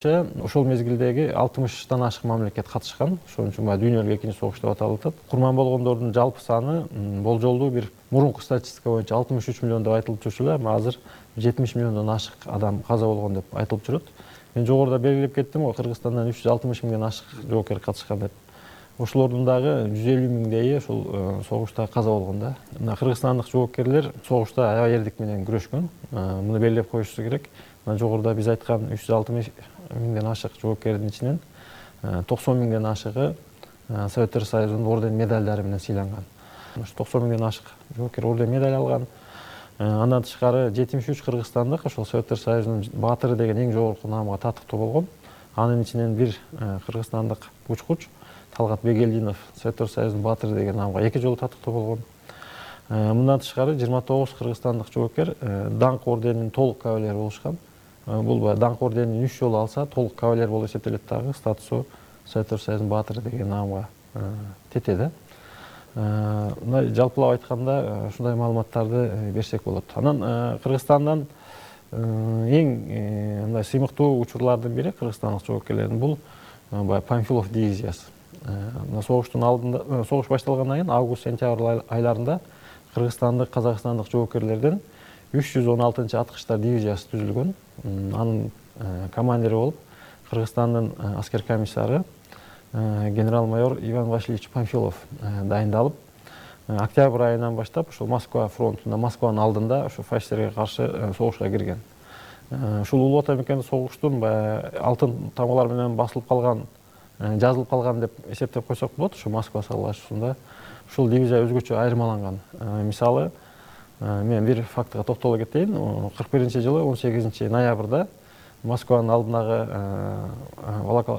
Ошол мезгилдеги 60-тан ашык мамлекет катышкан. Ошон үчүн дүйнөлүк экинчи согуш деп аталып атат. Курман болгондордун жалпы саны болжолдуу бир мурунку статистика боюнча 63 миллион деп айтылып жүрчү эле, азыр 70 миллиондон ашык адам каза болгон деп айтылып жүрөт. Мен жогоруда белгилеп кеттим го, Кыргызстандан 360 миңден ашык жоокер катышкан деп. Ошолордун дагы 150 миңдейи ошол согушта каза болгон да. Мына кыргызстандык жоокерлер согушта аябай эрдик менен күрөшкөн. Муну белгилеп коюшубуз керек. Жогоруда биз айткан 360 миңден ашык жоокердин ичинен 90 миңден ашыгы Советтер Союзунун орден медалдары менен сыйланган. 90 миңден ашык жоокер орден медаль алган. Андан тышкары 73 кыргызстандык ошол Советтер Союзунун баатыры деген эң жогорку наамга татыктуу болгон. Анын ичинен бир кыргызстандык учкуч Талгат Бегелдинов Советтер Союзунун баатыры деген наамга 2 жолу татыктуу болгон. Мындан тышкары 29 кыргызстандык жоокер даңк орденинин толук кавалери болушкан. Бул даңк орденин 3 жолу алса толук кавалер болуп эсептелет дагы, статусу Советтер Союзунун баатыры деген наамга тетеди. Мына жалпылап айтканда ушундай маалыматтарды берсек болот. Анан Кыргызстандан эң мындай сыймыктуу учурлардын бири кыргызстандык жоокерлердин бул Памфилов дивизиясы. Мына согуштун алдында, согуш башталгандан кийин август-сентябрь айларында кыргызстандык, казакстандык жоокерлерден 316-аткычтар дивизиясы түзүлгөн. Анын командири болуп Кыргызстандын аскер комиссары генерал-майор Иван Васильевич Памфилов дайындалып, октябрь айынан баштап ошол Москва фронтунда, Москванын алдында ошо фашисттерге каршы согушка кирген. Ушул улуу ата мекенде согуштун алтын тамгалар менен басылып калган, жазылып калган деп эсептеп койсок болот. Ошо Москва салгылашуусунда ушул дивизия өзгөчө айырмаланган. Мисалы, мен бир фактыга токтоло кетейин. 41-жылы 18 ноябрда Москванын алдындагы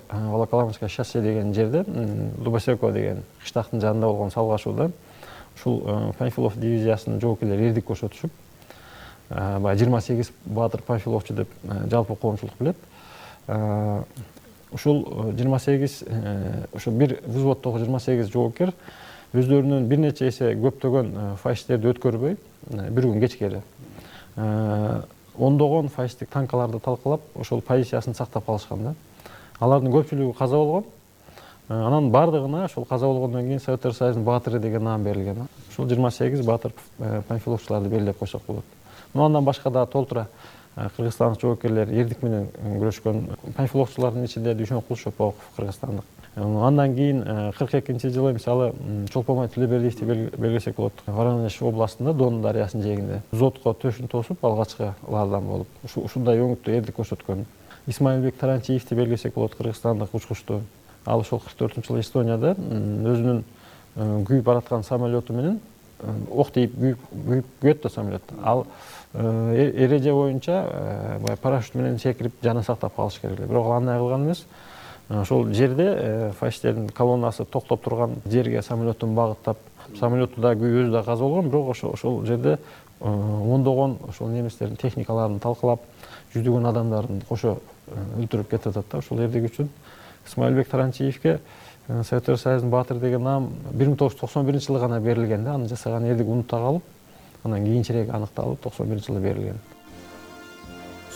Волоколамское шоссе деген жерде, Дубосеко деген кыштактын жанында болгон салгылашууда ушул Памфилов дивизиясынын жоокерлери эрдик көрсөтүшүп, 28 баатыр Памфиловчу деп жалпы коомчулук билет. Ушул 28 ошо бир взводдогу 28 жоокер өздөрүнүн бир нече эсе көптөгөн фашисттерди өткөрбөй, бир күн кечкери ондогон фашисттик танкаларды талкалап, ошол позициясын сактап калышкан да. Алардын көпчүлүгү каза болгон. Анан бардыгына ошол каза болгондон кийин Советтер Союзунун баатыры деген наам берилген. Ушул 28 баатыр Памфиловчуларды белгилеп койсок болот. Андан башка да толтура кыргызстандык жоокерлер эрдик менен күрөшкөн. Памфиловчулардын ичинде Дүйшөнкул Шопоков кыргызстандык. Андан кийин 42-жылы мисалы Чолпомай Тилебердиевди белгилесек болот. Воронеж областында Дон дарыясынын жээгинде зодко төшүн тосуп алгачкылардан болуп, ушундай өңүттүү эрдик көрсөткөн. Исмаилбек Таранчиевди белгилесек болот, кыргызстандык учкучту. Ал ошол 44-жылы Эстонияда өзүнүн күйүп бараткан самолету менен ок тийип күйөт да самолет. Ал эреже боюнча парашют менен секирип жана сактап калыш керек. Бирок ал андай кылган эмес. Ошол жерде фашисттердин колоннасы токтоп турган жерге самолетун багыттап, самолетту да күйүү өзү да каза болгон, бирок ошол жерде ондогон ошол немистердин техникаларын талкалап, жүздөгөн адамдарын кошо өлтүрүп кетип атат да. Ошол эрдик үчүн Исмаилбек Таранчиевге Советтер Союзунун баатыры деген наам 1991-жылы гана берилген да. Аны жасаган эрдик унута калып, анан кийинчерээк аныкталып 91-жылы берилген.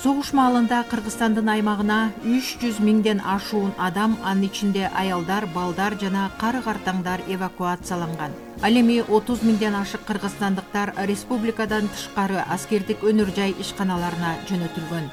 Согуш маалында Кыргызстандын аймагына 300 миңден ашуун адам, анын ичинде аялдар, балдар жана кары-картаңдар эвакуацияланган. Ал эми 30 миңден ашык кыргызстандыктар республикадан тышкары аскердик өнөр жай ишканаларына жөнөтүлгөн.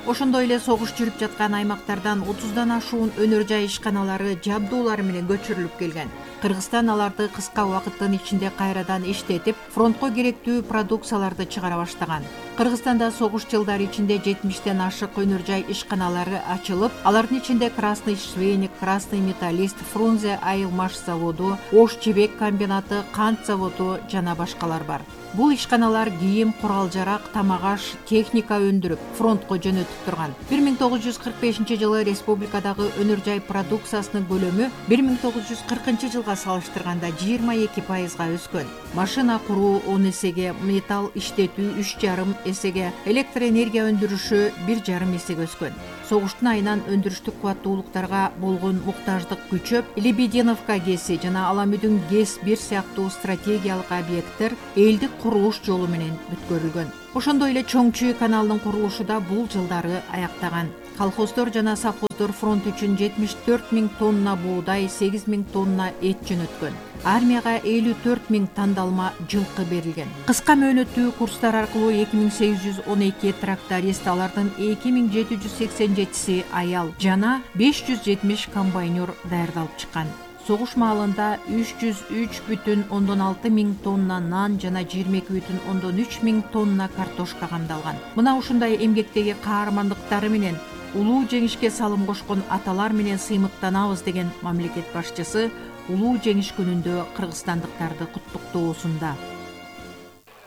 Ошондой эле согуш жүрүп жаткан аймактардан 30дан ашуун өнөр жай ишканалары жабдуулары менен көчүрүлүп келген. Кыргызстан аларды кыска убакыттын ичинде кайрадан иштетип, фронтко керектүү продукцияларды чыгара баштаган. Кыргызстанда согуш жылдары ичинде 70тен ашык өнөр жай ишканалары ачылып, алардын ичинде Красный Швейник, Красный Металлист, Фрунзе айылмаш заводу, Ош жибек комбинаты, кант заводу жана башкалар бар. Бул ишканалар кийим, курал-жарак, тамак-аш, техника өндүрүп, фронтко жөнөтүп турган. 1945-жылы республикадагы өнөр жай продукциясынын көлөмү 1940-жылга салыштырганда 22% өскөн. Машина куруу 10 эсеге, металл иштетүү 3,5 эсеге, электр энергия өндүрүшү 1,5 эсеге өскөн. Согуштун айынан өндүрүштүк кубаттуулуктарга болгон муктаждык күчөп, Лебединовка ГЭСи жана Аламүдүн ГЭС-1 сыяктуу стратегиялык объекттер элдик курулуш жолу менен бүткөрүлгөн. Ошондой эле Чоң Чүй каналынын курулушу да бул жылдары аяктаган. Колхоздор жана совхоздор фронт үчүн 74 000 тонна буудай, 8 000 тонна эт жөнөткөн. Армияга 54 000 тандалма жылкы берилген. Кыска мөөнөттүү курстар аркылуу 2812 тракторист, алардын 2787си аял жана 570 комбайнер даярдалып чыккан. Согуш маалында 303,6 000 тонна нан жана 22,3 000 тонна картошка камдалган. Мына ушундай эмгектеги каармандыктары менен улуу жеңишке салым кошкон аталар менен сыймыктанабыз деген мамлекет башчысы улуу жеңиш күнүндө кыргызстандыктарды куттуктоосунда.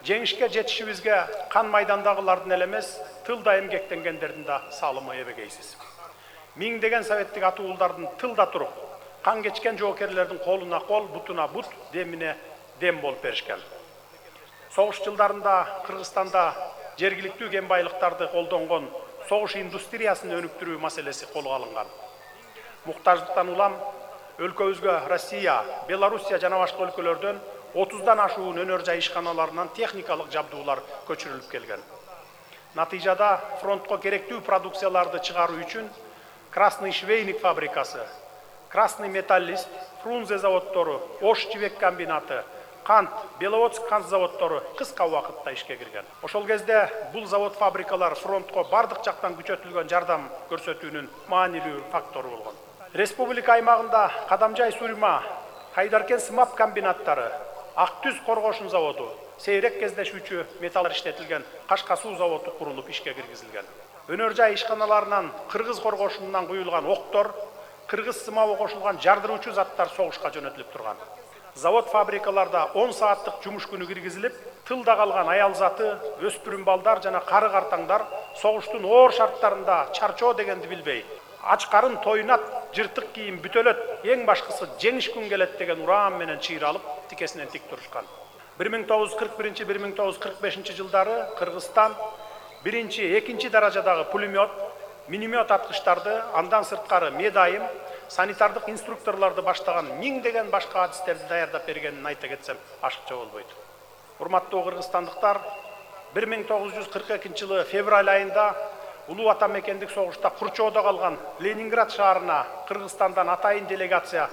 Жеңишке жетишибизге кан майдандагылардын эле эмес, тылда эмгектенгендердин да салымы эбегейсиз. Миңдеген советтик ата уулдардын тылда туруп, кан кечкен жоокерлердин колуна кол, бутуна бут, демине дем болуп беришкен. Согуш жылдарында Кыргызстанда жергиликтүү кен байлыктарды колдонгон согуш индустриясын өнүктүрүү маселеси колго алынган. Муктаждыктан улам өлкөбүзгө Россия, Белоруссия жана башка өлкөлөрдөн 30дан ашуун өнөр жай ишканаларынан техникалык жабдуулар көчүрүлүп келген. Натыйжада фронтко керектүү продукцияларды чыгаруу үчүн Красный швейник фабрикасы, Красный металлист, Фрунзе заводдору, Ош жибек комбинаты, кант, Беловодск кант заводдору кыска убакытта ишке кирген. Ошол кезде бул завод фабрикалар фронтко бардык жактан күчөтүлгөн жардам көрсөтүүнүн маанилүү фактору болгон. Республика аймагында Кадамжай Сурма, Кайдаркен сымап комбинаттары, Ак Түз коргошун заводу, сейрек кездешүүчү металлар иштетилген Кашка суу заводу курулуп ишке киргизилген. Өнөр жай ишканаларынан кыргыз коргошунунан куюлган октор, кыргыз сымабы кошулган жардыруучу заттар согушка жөнөтүлүп турган. Завод фабрикаларда 10 сааттык жумуш күнү киргизилип, тылда калган аял заты, өспүрүм балдар жана кары картаңдар согуштун оор шарттарында чарчоо дегенди билбей, ач карын тоюнат, жыртык кийим бүтөлөт, эң башкысы жеңиш күн келет деген ураан менен чыйралып, тикесинен тик турушкан. 1941-1945 жылдары Кыргызстан биринчи, экинчи даражадагы пулемет, миномет аткычтарды, андан сырткары медайым, санитардык инструкторлорду баштаган миңдеген башка адистерди даярдап бергенин айта кетсем ашыкча болбойт. Урматтуу кыргызстандыктар, 1942 жылы февраль айында улуу ата мекендик согушта курчоодо калган Ленинград шаарына Кыргызстандан атайын делегация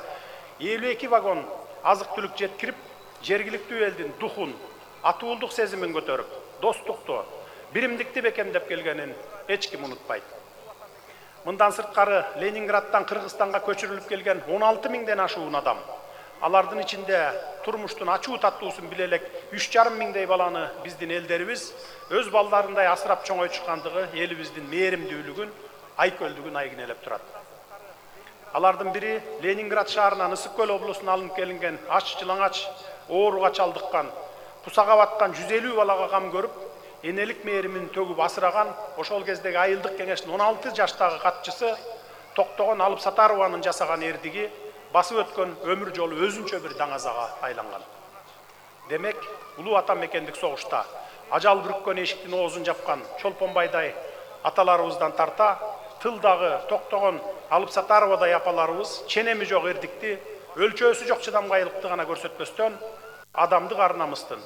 52 вагон азык-түлүк жеткирип, жергиликтүү элдин духун, атуулдук сезимин көтөрүп, достукту, биримдикти бекемдеп келгенин эч ким унутпайт. Мындан сырткары Ленинградтан Кыргызстанга көчүрүлүп келген 16 000ден ашуун адам. Алардын ичинде турмуштун ачуу таттуусун биле элек 3,5 миңдей баланы биздин элдерибиз өз балдарындай асырап чоңойтушкандыгы элибиздин мээримдүүлүгүн, айкөлдүгүн айгинелеп турат. Алардын бири Ленинград шаарынан Ысык көл облусуна алынып келинген ач жылаңач, ооруга чалдыккан, кусага баткан 150 балага кам көрүп, энелик мээримин төгүп асыраган ошол кездеги айылдык кеңештин 16 жаштагы катчысы Токтогон Алыпсатарованын жасаган эрдиги басып өткөн өмүр жолу өзүнчө бир даңазага айланган. Демек, улуу ата мекендик согушта ажал бүрккөн эшиктин оозун жапкан Чолпонбайдай аталарыбыздан тарта, тылдагы Токтогон Алыпсатаровадай апаларыбыз ченеми жок эрдикти, өлчөөсү жок чыдамгайлыкты гана көрсөтпөстөн, адамдык ар намыстын,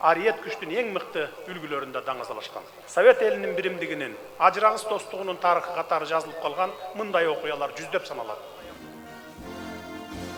ариет күчтүн эң мыкты үлгүлөрүндө даңазалашкан. Совет элинин биримдигинин, ажырагыс достугунун тарыхы катары жазылып калган мындай окуялар жүздөп саналат.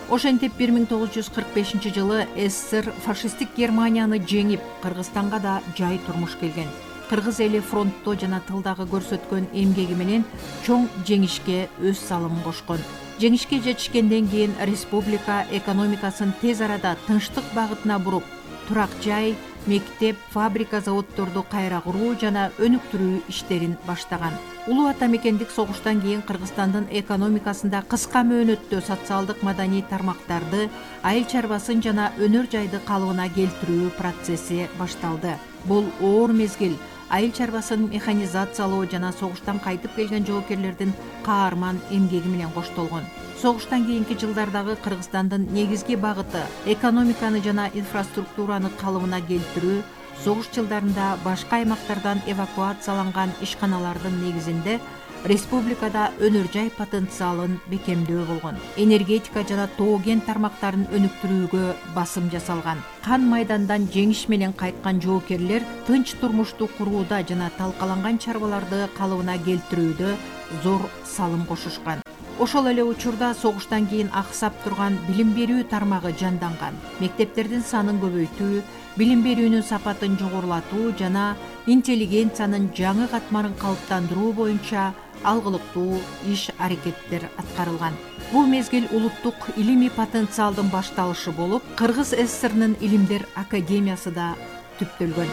Ошентип 1945 жылы СССР фашисттик Германияны жеңип, Кыргызстанга да жай турмуш келген. Кыргыз эли фронтто жана тылдагы көрсөткөн эмгеги менен чоң жеңишке өз салымын кошкон. Жеңишке жетишкенден кийин республика экономикасын тез арада тынчтык багытына буруп, турак жай, мектеп, фабрика, заводдорду кайра куруу жана өнүктүрүү иштерин баштаган. Улуу ата мекендик согуштан кийин Кыргызстандын экономикасында кыска мөөнөттө социалдык маданий тармактарды, айыл чарбасын жана өнөр жайды калыбына келтирүү процесси башталды. Бул оор мезгил айыл чарбасын механизациялоо жана согуштан кайтып келген жоокерлердин каарман эмгеги менен коштолгон. Согуштан кийинки жылдардагы Кыргызстандын негизги багыты экономиканы жана инфраструктураны калыбына келтирүү, согуш жылдарында башка аймактардан эвакуацияланган ишканалардын негизинде республикада өнөр жай потенциалын бекемдөө болгон. Энергетика жана тоо кен тармактарын өнүктүрүүгө басым жасалган. Кан майдандан жеңиш менен кайткан жоокерлер тынч турмушту курууда жана талкаланган чарбаларды калыбына келтирүүдө зор салым кошушкан. Ошол эле учурда согуштан кийин аксап турган билим берүү тармагы жанданган. Мектептердин санын көбөйтүү, билим берүүнүн сапатын жогорулатуу жана интеллигенциянын жаңы катмарын калыптандыруу боюнча алгылыктуу иш-аракеттер аткарылган. Бул мезгил улуттук илимий потенциалдын башталышы болуп, Кыргыз ССРнын Илимдер академиясы да түптөлгөн.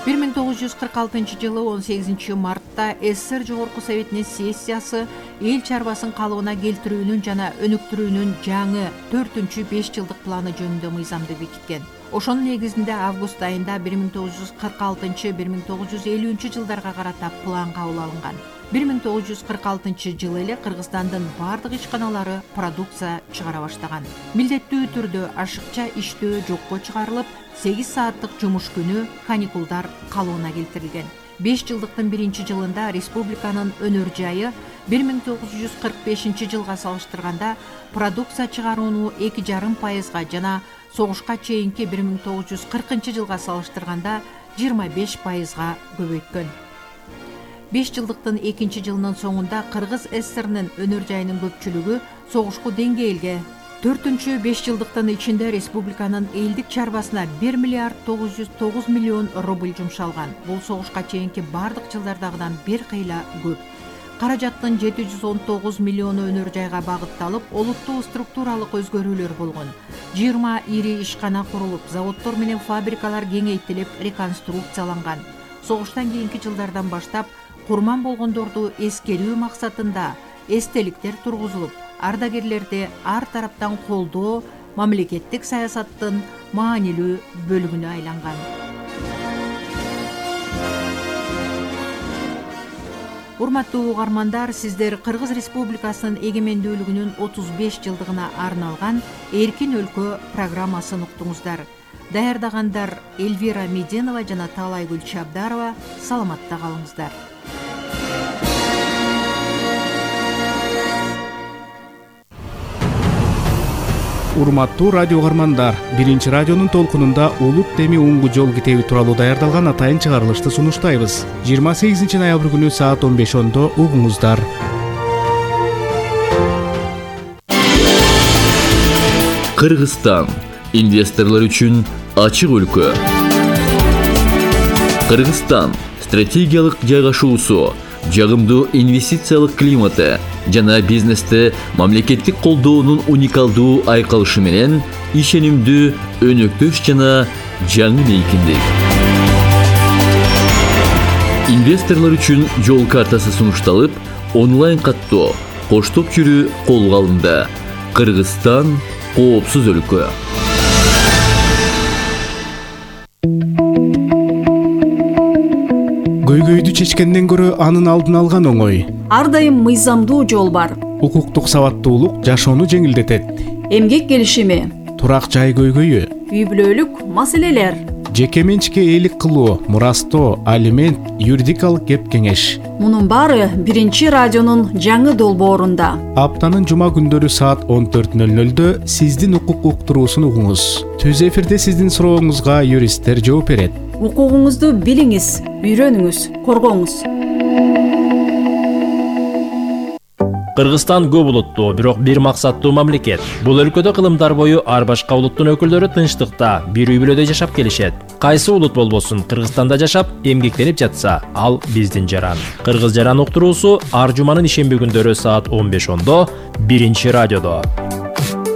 1946-жылы 18 мартта СССР Жогорку Советинин сессиясы эл чарбасын калыбына келтирүүнүн жана өнүктүрүүнүн жаңы 4-5 жылдык планы жөнүндө мыйзамды бекиткен. Ошонун негизинде август айында 1946-1950 жылдарга карата план кабыл алынган. 1946 жылы эле Кыргызстандын бардык ишканалары продукция чыгара баштаган. Милдеттүү түрдө ашыкча иштөө жокко чыгарылып, 8 сааттык жумуш күнү, каникулдар калыбына келтирилген. 5 жылдыктын биринчи жылында республиканын өнөр жайы 1945 жылга салыштырганда продукция чыгарууну 2,5% жана согушка чейинки 1940 жылга салыштырганда 25% көбөйткөн. 5 жылдыктын экинчи жылынын соңунда Кыргыз ССРнын өнөр жайынын көпчүлүгү согушку деңгээлге 4-5 жылдыктын ичинде республиканын элдик чарбасына 1 миллиард 909 миллион рубль жумшалган. Бул согушка чейинки бардык жылдардагыдан бир кыйла көп. Каражаттын 719 миллиону өнөр жайга багытталып, олуттуу структуралык өзгөрүүлөр болгон. 20 ири ишкана курулуп, заводдор менен фабрикалар кеңейтилип, реконструкцияланган. Согуштан кийинки жылдардан баштап курман болгондорду эскерүү максатында эстеликтер тургузулуп, ардагерлерди ар тараптан колдоо мамлекеттик саясаттын маанилүү бөлүгүнө айланган. Урматтуу угармандар, сиздер Кыргыз Республикасынын эгемендүүлүгүнүн 35 жылдыгына арналган Эркин өлкө программасын уктуңуздар. Даярдагандар Эльвира Меденова жана Таалайгүл Чабдарова. Саламатта калыңыздар. Урматтуу радио угармандар, биринчи радионун толкунунда улут теми уңгу жол китеби тууралуу даярдалган атайын чыгарылышты сунуштайбыз. 28 ноябрь күнү саат 15:10 угуңуздар. Кыргызстан инвесторлор үчүн ачык өлкө. Кыргызстан стратегиялык жайгашуусу, жагымдуу инвестициялык климаты жана бизнесте мамлекеттик колдоонун уникалдуу айкалышы менен ишенимдүү, өнөктөш жана жаңы мейкиндик. Инвесторлор үчүн жол картасы сунушталып, онлайн каттоо, коштоп жүрүү колго алынды. Кыргызстан коопсуз өлкө. Көйгөйдү чечкенден көрө анын алдын алган оңой. Ар дайым мыйзамдуу жол бар. Укуктук сабаттуулук жашоону жеңилдетет. Эмгек келишими, Турак жай көйгөйү, үй бүлөлүк маселелер. жеке менчикке ээлик кылуу, мурастоо, алимент, юридикалык кеп кеңеш. Мунун баары биринчи радионун жаңы долбоорунда. Аптанын жума күндөрү саат 14:00 сиздин укук уктуруусун угуңуз. Түз эфирде сиздин сурооңузга юристтер жооп берет. Укугуңузду билиңиз, үйрөнүңүз, коргоңуз. Кыргызстан көп улуттуу, бирок бир максаттуу мамлекет. Бул өлкөдө кылымдар бою ар башка улуттун өкүлдөрү тынчтыкта, бир үй бүлөдө жашап келишет. Кайсы улут болбосун, Кыргызстанда жашап, эмгектенип жатса, ал биздин жаран. Кыргыз жаран уктуруусу ар жуманын ишемби күндөрү саат 15:10 биринчи радиодо.